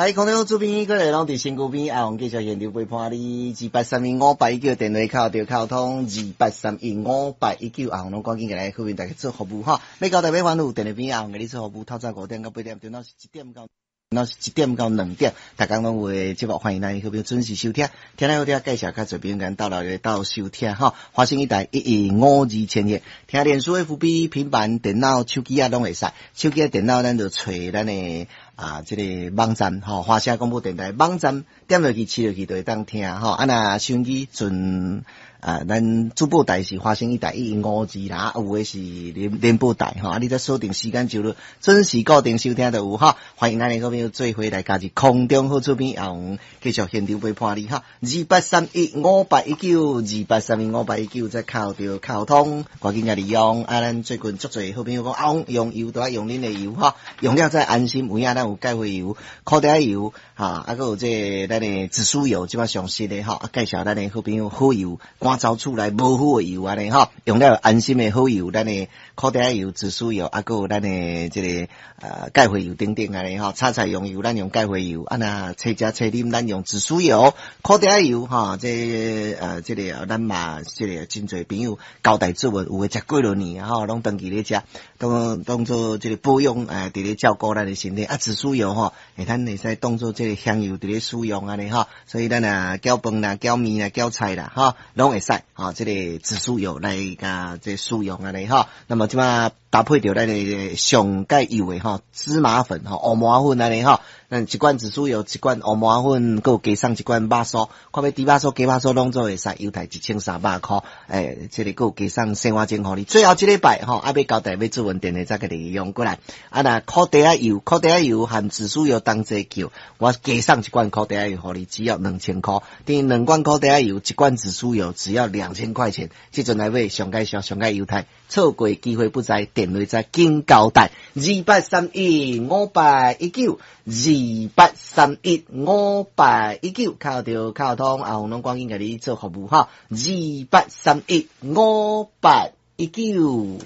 來，空中主編過來攏佇身軀邊，阿紅繼續現場陪伴你。28315819電話敲著敲通，28315819，阿紅攏趕緊過來，好面大家做服務吼。欲交代欲煩惱，電話邊阿紅共你做服務，透早5點到8點，電腦是一點到。那是1點到2點，逐工攏有的節目，歡迎咱好朋友準時收聽。聽了好聽，介紹較濟朋友共鬥來鬥收聽吼。華聲一台1152千赫，聽臉書 FB 平板電腦、手機啊攏會使。手機電腦咱就揣咱的啊，這個網站吼，華聲廣播電台網站點落去，試落去就會當聽吼。啊，若收音機陣啊，咱主播台是華聲一台1152啦，有的是聯播台吼。啊，你再鎖定時間就準時固定收聽就有吼。歡迎咱的好朋友做伙來加入空中好厝邊，阿紅繼續現場陪伴你哈。28315819，28315819，再敲著敲通，趕緊來利用。啊，咱最近足濟好朋友講，阿紅用油都愛用恁的油哈，用了才安心。有影咱有鈣花油、苦茶油，哈，啊，閣有這個咱的紫蘇油，這擺上新的吼，啊，介紹咱的好朋友好油，趕走厝內無好的油按呢吼，用了安心的好油，咱的苦茶油、紫蘇油，啊，閣有咱的這個鈣花油等等按呢吼，炒菜用油，咱用鈣花油，啊，若炊食炊啉，咱用紫蘇油、苦茶油，吼，這這個咱嘛，這個真濟朋友交代做有的食幾落年吼，攏長期咧食，當當做這個保養，佇咧照顧咱的身體。啊，紫蘇油吼，會咱會使當做這個香油佇咧使用按呢吼，所以咱啊攪飯啦、攪麵啦、攪菜啦，吼，攏會使，吼，這個紫蘇油來共這使用按呢吼。那麼這擺搭配著咱的上蓋油的吼，芝麻粉吼，烏麻粉按呢吼，咱一罐紫蘇油，一罐烏麻粉，閣有加送一罐肉酥，看欲豬肉酥、雞肉酥攏做會使，優待1300箍，欸，這個閣有加送生活鐘予你。最後這禮拜吼，啊欲交代欲做穩電話再共你用過來。啊，若苦茶油、苦茶油含紫蘇油同齊叫，我加送一罐苦茶油予你，只要2000箍。等於兩罐苦茶油，一罐紫蘇油，只要2000塊錢。這陣來買上蓋俗、上蓋優待，錯過機會不再，電話再緊交代。28315819，28315819，敲著敲通，阿紅攏趕緊共你做服務哈。28315819。